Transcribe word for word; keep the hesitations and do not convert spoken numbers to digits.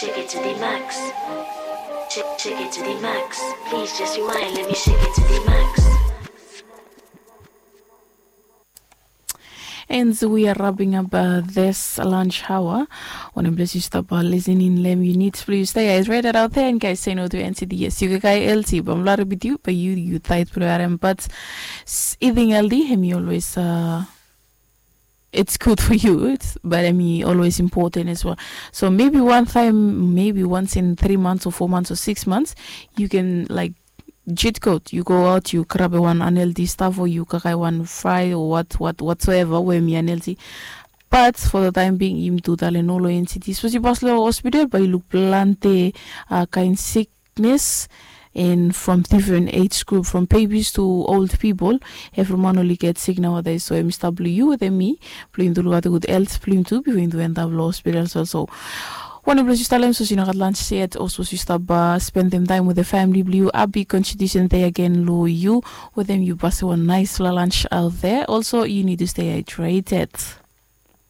Shake it to the max. Shake, shake it to the max. Please just rewind, let me shake it to the max. And we are wrapping up uh, this lunch hour. Wanem ples yu stap uh, listening lem, you need please stay hydrated out there. And guys, say no to N C D. Yes, yu kakae L T bamla rebitiu ba yu yu tight program, but eating healthy him you always uh, it's good for you, it's, but I mean always important as well. So maybe one time, maybe once in three months or four months or six months, you can like cheat code. You go out, you grab a one unhealthy stuff, or you kakae one fry or what what whatsoever we mi unhealthy. But for the time being, im tu tale no lo N C D. Suppose you pass lo hospital, but you look plante uh, kind sickness and from different age group, from babies to old people, everyone only get sick nowadays. So em stop blue you with me, blue into what good health, blue into be into end up lo hospital. So so one of those you tell them so you know lunch set also you stop uh, spend them time with the family blue. I'll be constitution day again lo you with them you pass one nice lunch out there. Also you need to stay hydrated.